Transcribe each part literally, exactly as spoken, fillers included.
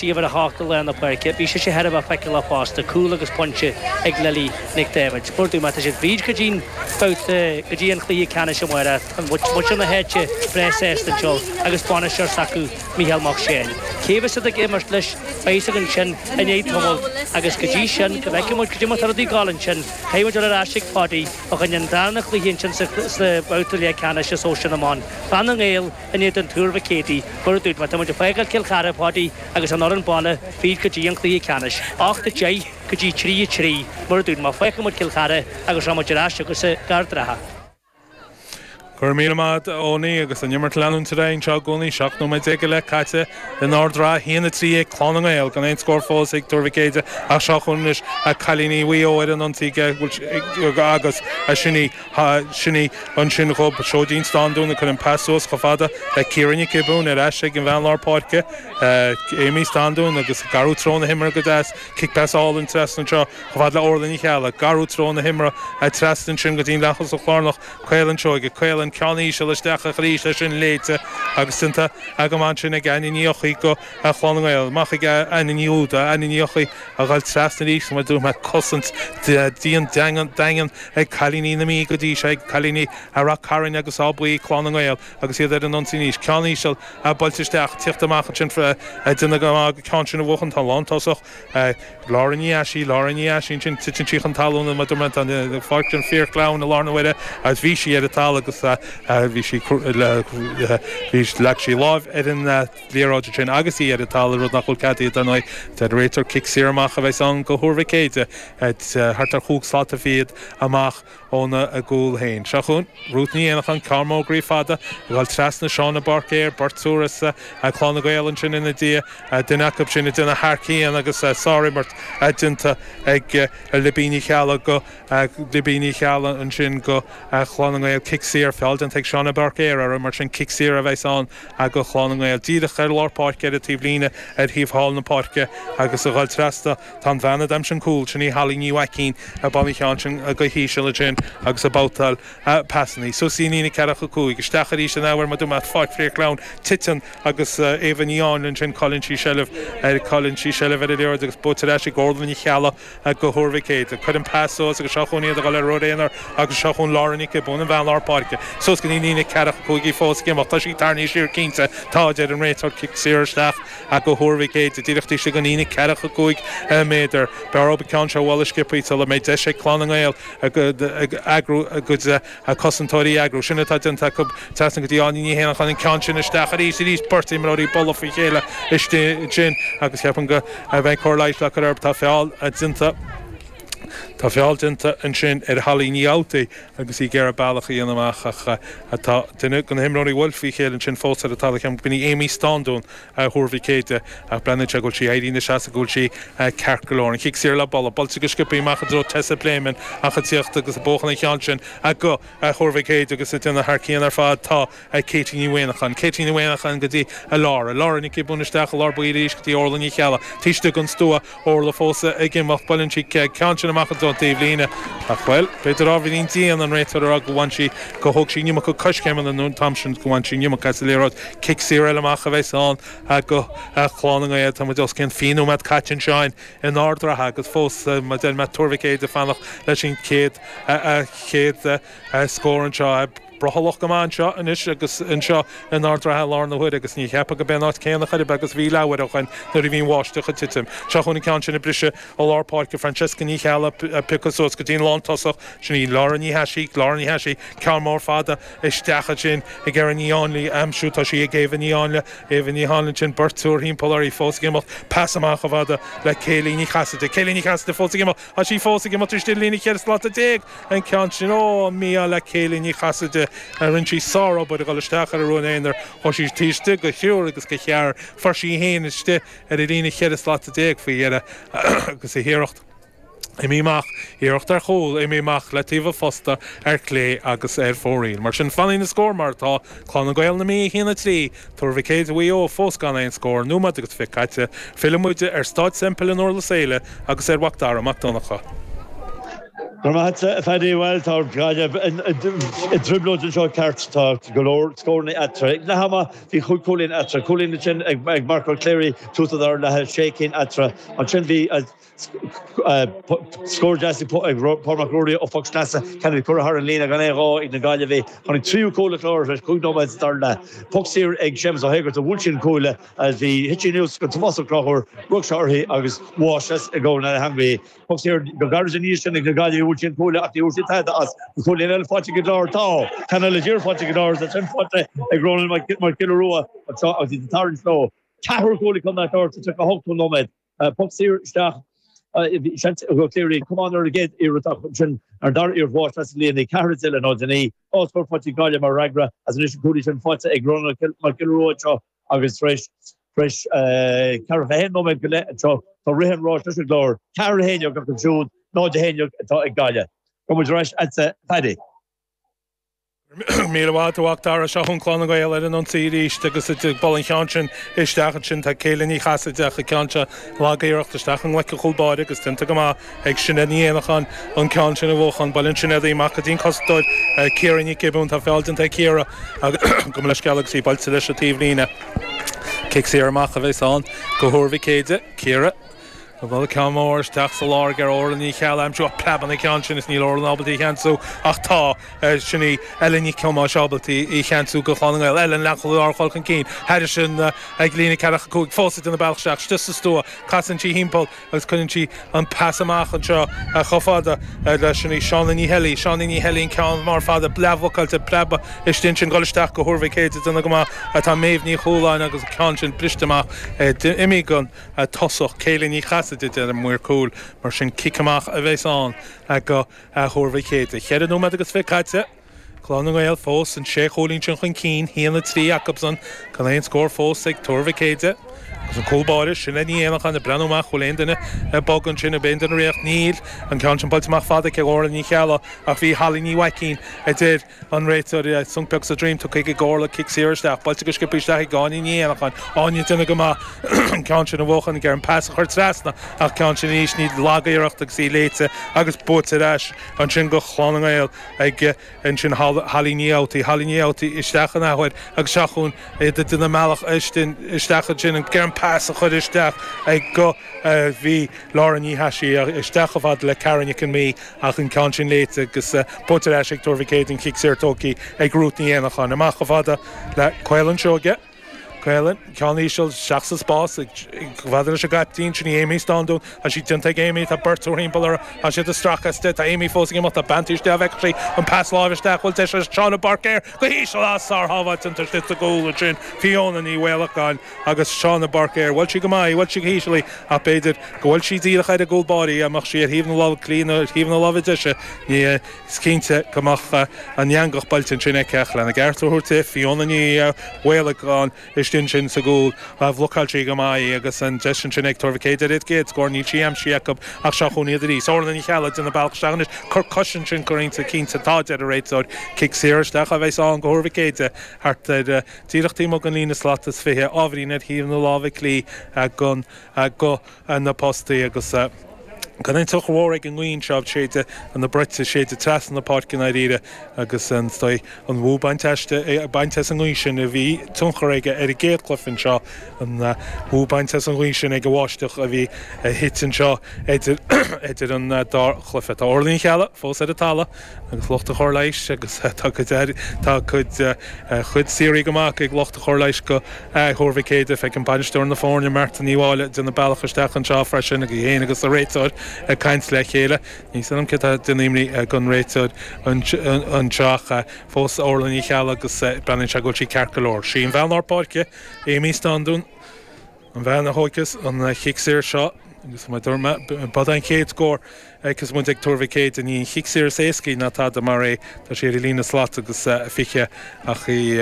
Uimhir a hocht i lár na páirce. Bhí sise thar a bheith feiceálach fosta, cúl agus pointe ag Lily Nic Daibhéid. Mar a dúirt mé, tá siad fríd go dtí an babhta, go dtí an cluiche ceannais amárach. Tá muintir na háite breá sásta anseo agus bainisteoir s'acu, Mícheál Mac Seáin. Cé a bheas siad ag imirt leis, beidh a fhios againn sin i ndiaidh tamaill agus go dtí sin, go bhfeicfidh muid cad é mar tá rudaí ag dul ansin. Caithfidh muid dul ar ais ag Páidí fá choinne an darna cluiche ansin sa babhta leathcheannais i Sóisear na mBan. Clann na nGael in éadan Tuar Mhic Éadaigh. Mar a dúirt mé, tá muid ag fágáil Cill Chartha, a Pháidí, agus an fhoireann baile fríd go dtí an cluiche ceannais. Ocht a deich go dtí trí a trí. Mar a dúirt mé, fágfaidh muid Cill Chartha agus rachaidh muid ar ais chugatsa go Ard an Rátha. Go raibh míle maith agat, a Eoiní, agus an imirt ag leanúint ar aghaidh anseo i gcónaí. Seacht nóiméad déag go leith caite in Ard an Rátha, a haon a trí ag Clann na nGael, gan aon scór fós ag Tuar Mhic Éadaigh ach seo chugainn anois cailíní Mhaigh Eo ar an ionsaí agus sin í sin í ansin dhób Seoidín Standún ag cur an pas suas chomh fada le Ciara Nic Giobúin ar ais ag an bhean lár páirce, Amy Standún agus ag athrú treo na himeartha go deas, cic pas álainn trasna anseo chomh fada le Orla Ní Cheallaigh, ag athrú treo na himeartha trasna ansin go dtí an leath-thosach lárnach, Caolan Seoige, Caolan ceann íseal isteach arís leis sin léite agus déanta go maith ansin ag Áine Ní Eochaidh go Chlann na nGael. Amach ag Áine Ní Úda, Áine Ní Eochaidh a dhul trasna arís mar dúirt mé cosaint dian daingean ag cailíní na Mí go dtí seo ag cailíní Rath Cairn agus Áth Buí, Clann na nGael agus iad ar an ionsaí anois. Ceann íseal buailte isteach, tíocht amach ansin déanamh go maith an ceann sin a bhuachan. Tá an lántosach Laura Ní Easaí, Laura Ní Easaí ansin, titeann sí chun talún mar dúirt mé tá an pháirc sin fíorsleamhain i láthair na huaire agus bhí sí ar an talamh agus bhí sí bhí leag sí lámh ar an liathróid ansin agus í ar an talamh, rud nach bhfuil ceadaithe dar ndóigh. Deir an réiteoir cic saor amach a bheas ann go Thuar Mhic Éadaigh thart ar chúig slata fichead amach óna gcúl féin. Seo chugainn Ruth Ní Éanacháin, ceann mór groí fada ag dul trasna Shauna Báircéir, beirt úr as Clann na Gael ansin ina diaidh, duine acu sin ag déanamh thar cionn agus sárimirt déanta ag Libby Ní Cheallaigh go Libby Ní Cheallaigh ansin go Chlann na nGael. Cic saor, feall déanta ag Shauna Báircéir uirthi, mar sin cic saor a bheas ann go Chlann na nGael. Díreach ar lár páirce ar an taobhlíne ar thaobh thall na páirce agus a dhul trasna tá an bhean a d'aimsigh an cúl, sin í Holly Ní Mhaicín ag baint an cheann sin go híseal ansin agus ag babhtáil pasanna. Suas í líne ceathracha cúig, isteach arís an athuair mar dúirt mé, pháirc fíorsleamhain, titeann agus Éabha Ní Áinle ansin, cailleann sí seilbh ar cailleann sí seilbh ar an liathróid agus buaite ar ais ag Orla Ní Cheallaigh go Thuar Mhic Éadaigh. Cuir an pas suas agus seo chugainn iad ag dul ar rud aonair agus seo chugainn Laura Nic Giobúin, an bhean lár páirce, suas go dtí líne ceathracha cúig í fós ag imeacht. Tá sí tarraingthe siar cinnte. Tá, a deir an réiteoir, cic saor isteach go Thuar Mhic Éadaigh, díreach taobh istigh den líne ceathracha cúig méadar. B'fhearr dóibh an ceann seo a bhualadh sciobtha sula mbeidh deis ag Clann na nGael ag eagrú a gcuid cosantóirí a eagrú. Sin atá déanta acu. Trasna go dtí Áine Ní Héanacháin, an ceann sin isteach arís, arís beirt imreoirí ag bualadh faoi chéile istigh ansin agus ceapaim go mbeidh cóir leighis le cur orthu. Tá feall déanta. Tá feall déanta ansin ar Holly Ní Fhabhtaigh agus í ag iarraidh bealach a dhéanamh amach ach tá duine de na himreoirí a bhuail faoi chéile ansin fós ar an talamh, ceapaim gurb í Amy Standún Thuar Mhic Éadaigh ach breathnaíonn sé go bhfuil sí éirithe ina seasamh go bhfuil sí ceart go leor. An chic saor le bualadh, buailte go sciobtha amach i dtreo Tessa Pléimeann ach ag tíocht agus ag buachan an cheann sin go Thuar Mhic Éadaigh agus ag déanamh thar cionn ar fad tá Katie Ní Mhaonachain. Katie Ní Mhaonachain go dtí Laura. Laura Nic Giobúin isteach i lár báire arís go dtí Orla Ní Cheallaigh. Taobh istigh den stua, Orla fós ag imeacht, buaileann sí ceann sin amach i dtreo an taobhlíne ach, bhuel, b'fhéidir ábhairín dian an réiteoir a rá go bhain sí, go thóg sí an iomarca coiscéimeanna nó an t-am sin go bhain sí an iomarca as an liathróid. Cic saor eile amach a bheas ann go Clann na nGael. Tá muid os cionn fiche nóiméad caite anseo in Ard an Rátha agus fós, mar a deir mé, Tuar Mhic Éadaigh ag fanacht leis an chéad, chéad scór anseo. Brothallach go maith anseo anois agus anseo in Ard an Rátha i láthair na huaire agus ní cheapfá gurb é an áit céanna chor ar bith agus bhí leathuair ó shoin nuair a bhí an bháisteach ag titim. Seo chugainn an ceann sin ag briseadh i lár páirce, Francesca Ní Cheallaigh ag piocadh suas go dtí an lántosach, sin í Laura Ní Thaisí, Laura Ní Thaisí, ceann mór fada isteach ansin ag iarraidh Ní Áinle a aimsiú, tá sí ag Éabha Ní Áinle, Éabha Ní Áinle ansin, beirt thimpeall uirthi fós ag imeacht, pas amach chomh fada le Kayleigh Ní Chasaide, Kayleigh Ní Chasaide fós ag imeacht, tá sí fós ag imeacht istigh i líne cheithre slata déag, an ceann sin, ó, mí-ádh le Kayleigh Ní Chasaide, rinne sí sárobair a dhul isteach ar an rún aonair, chuaigh sí taobh istigh de thriúr agus de cheathrar, fuair sí í féin istigh ar an líne cheithre slata déag faoi dheireadh agus a hiarracht imithe amach, iarracht ar chúl imithe amach le taobh an phosta ar chlé agus ar fóraoil. Mar sin, fanfaidh na scóir mar atá, Clann na Gael na Mí a haon a trí, Tuar Mhic Éadaigh Mhaigh Eo fós gan aon scór, nóiméad agus fiche caite, fillfidh muid ar Staid Semple in Durlas Éile agus ar Mhac Dara Mac Donncha. Go raibh maith agat, a Phaddy. Bhuel, tá Gaillimh i dtrioblóid anseo ceart. Tá go leor scóranna eatarthu. Ag leath ama bhí chúig chúilín eatarthu. Cúilín ansin ag Mark Ó Cléirigh, tús an dara leath, sé cinn eatarthu. Ansin bhí scór deas ag Paul Mac Ruairí ó phoc sleasa, ceann a bhí curtha thar an líne gan aon ghá ag na Gaillimhigh. Tháinig tríú cúl an Chláir tar éis cúig nóiméad sa dara leath. Poc saor ag Séamus Ó hÉigeartaigh, bhuail sé an cuaille a bhí thit sí anuas go Tomás Ó Conchúir, rug sé uirthi agus mháistreás i gcomhair na heangaí. Poc saor go gairid ina dhiaidh sin ag na Gaillimhigh, bhuail sé an cuaille ach ní bhfuair sé tada as. An cúilín eile faighte ag an gClár, tá ceann eile díreach faighte ag an gClár, is é sin faighte ag Ronan Mac Giolla Rua anseo agus iad ag tarraingt leo. Ceathrú cúl ag Contae an Chláir sa tríocha a hocht nóiméad. Poc saor isteach, bhí seans ag Ó Cléirigh camán ar an gcéad iarracht ach ansin ar an dara iarracht mháistreás an líne, ceathair a deich le náid a naoi. Dhá scór faighte ag Gaillimh mar fhreagra as anois an cúilín sin faighte ag Ronan Mac Giolla Rua anseo agus tar éis Tar éis ceathracha a haon nóiméad go leith anseo, tá rith an ráis leis an gClár, ceathair a haon déag acu siúd, náid a haon déag atá ag Gaillimh. Gabh muid ar ais agatsa, a Phaddy. Míle maith agat, a Mhac Dara. Seo chugainn Clann na nGael ar an ionsaí arís agus ag bualadh an cheann sin isteach ansin. Tá Céilin Ní Chasaide ach an ceann seo lag-iarracht isteach i nglaic an chúl báire agus déanta go maith ag Sinéad Ní Éanacháin an ceann sin a bhuachan. Buaileann Sinéad í amach go dtí an cosantóir Ciara Ní Ghiobúin. Tá feall déanta ag Ciara agus gabh mo leithscéal agus í buailte leis an taobhlíne. Cic saor amach a bheas ann go Thuar Mhic Éide. Ciara ag bualadh ceann mór isteach sa lár ag iarraidh Orla Ní Cheallaigh a aimsiú ach preabann an ceann sin is níl Orla ábalta í a cheansú ach tá sin í Ellen Nic Thomáis ábalta í a cheansú go Chlann na nGael. Ellen leanfadh lár chul chun cinn thairis sin ag líne ceathracha cúig fós ag déanamh bealach isteach istigh sa stua casann sí thimpeall agus cuireann sí an pas amach anseo chomh fada le sin í Shauna Ní Heilí. Shauna Ní Heilí an ceann mór fada leathbhlocáilte preabadh istigh ansin dul isteach go Thuar Mhic Éide déanamh go maith atá Méabh Ní Chualáin agus an ceann sin briste amach d'imigh an tosach Céilí Ní Chasaide deir an maor cúil mar sin cic amach a bheas ann go Thuar Mhic Éide. Ceithre nóiméad agus fiche caite. Clann na nGael fós an sé chúilín sin chun cinn, haon a trí acusan, gan aon scór fós ag Tuar Mhic Éide. Agus an cúl báire, Sinéad Ní Éanacháin ag breathnú amach, bhfuil aon duine ag bogadh ansin, ab aon duine ag rith? Níl. An ceann sin buailte amach fada ag Orla Ní Cheallaigh ach bhí Holly Ní Mhaicín, a deir an réiteoir, sonc beag sa droim tugtha ag Orla, cic saor isteach, buailte go sciobtha isteach ag Áine Ní Éanacháin. Áine ag déanamh go maith an ceann sin a bhuachan, ag iarraidh an pas a chur trasna ach ceann sin arís ní lag-iarracht agus í léite agus buaite ar ais ansin go Chlann na nGael ag ansin Holly Ní Fhabhtaigh, Holly Ní Fhabhtaigh isteach an athuair agus seo chugainn iad ag déanamh a mbealach isteach ansin ag iarraidh an pas a chur isteach ag go bhí Laura Ní Thaisí isteach chomh fada le Karen Nic an Mí ach an ceann sin léite agus buaite ar ais ag Tuar Mhic Éadaigh an cic saor tógtha ag Ruth Ní Éanacháin. Amach chomh fada le Caolann Seoige. Caolann, ceann íseal isteach sa spás ag chomh fada leis an gcaiptín, sin í Amy Standún. Tá sí déanta ag Amy, tá beirt thimpeall uirthi, tá siad ag stracadh aisti, tá Amy fós ag imeacht, tá bean istigh, an bhfeicfidh sí an pas láimhe isteach, bhfuil deis ag Shauna Bairéad go híseal, ah sárshábháilt an istigh sa gcúl ansin, Fiona Ní Mhaolacháin agus Shauna Bairéad. Bhuail sí go maith í, bhuail sí go híseal í ach b'fhéidir go bhfuil sí díreach ar an gcúl báire, dá mbeadh sí ar thaobh na láimhe clí nó ar thaobh na láimhe deise, ní is cinnte go mbeadh an eangach buailte ansin aici ach lena gceart a thabhairt di, Fiona Ní Mhaolacháin istigh ansin sa gcúl. Bhlocáil sí go maith í agus an deis ansin ag Tuar Mhic Éadaigh ar an gcéad scór, níl sí aimsithe acu ach seo chugainn iad arís. Orla Ní Cheallaigh ag déanamh a bealach isteach anois. Cor cois ansin curtha inti, cinnte tá, deir an réiteoir. Cic saor isteach a bheas ann go Thuar Mhic Éadaigh thart ar díreach taobh amuigh den líne slat is fiche, ábhairín ar thaobh na láimhe clí go go na postaí agus gan aon tionchar mhór ag an ngaoth seo ag séideadh na bruite, séideadh trasna na páirce i ndáiríre agus an dóigh an bhú bainte aisti, bainte as an ngaoth sin a bhí tionchar aige ar an gcéad chluiche anseo, an bhú bainte as an ngaoth sin ag an bháisteach a bhí a thit anseo idir idir an dá chluiche. Tá Orla Ní Cheallaigh fós ar an talamh agus lucht an chóir leighis agus tá cuid tá cuid chuid saothraithe go maith ag lucht an chóir leighis go Thuar Mhic Éadaigh. Feicim bainisteoir na foirne, Martin Ní Mháille, ag déanamh a bealach isteach anseo freisin agus í féin agus a réiteoir ag caint le chéile. Níl a fhios agam cé atá ag déanamh imní don réiteoir anseo ach fós Orla Ní Cheallaigh agus breathnaíonn sé go bhfuil sí ceart go leor. Sí an bhean lár páirce, Amy Standún, an bhean a thógfas an chic saor seo agus mar a dúirt mé, ba é an chéad scór agus muid ag Tuar Mhic Éadaigh, ní an chic saor is éascaí ná tada mar é, tá sé ar an líne slat agus fiche ach í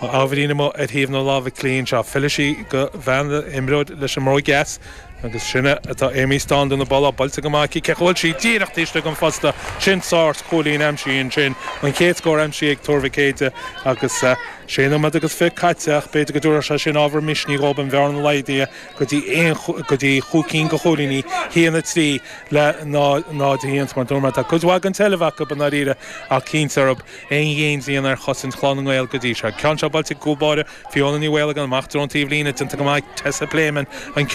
ábhairín amuigh ar thaobh na láimhe clí anseo. Fillfidh sí go bhean imreoir leis an mbróg dheas. Agus sin atá Amy Staunton na balla buailte go maith ce bhfuil sí díreach istigh an phosta sin sár chúilín aimsithe sin an chéad scór aimsithe ag Tuar Mhic Éadaigh agus sé nóiméad agus fiche caite ach b'fhéidir go dtabharfadh sé sin ábhar misnigh dhóibh an bhearna laghdaithe go dtí aon go dtí chúig cinn de chúilíní haon a trí le náid a haon mar dúirt mé tá cuid mhaith den tseilbh acu i ndáiríre ach cinnte arb aon ghéin ar chosaint Chlann na nGael go dtí seo. Ceann seo buailte cúl báire Fiona Ní Mhaolagáin amach ón taobhlíne déanta go maith Tessa Playman an ceann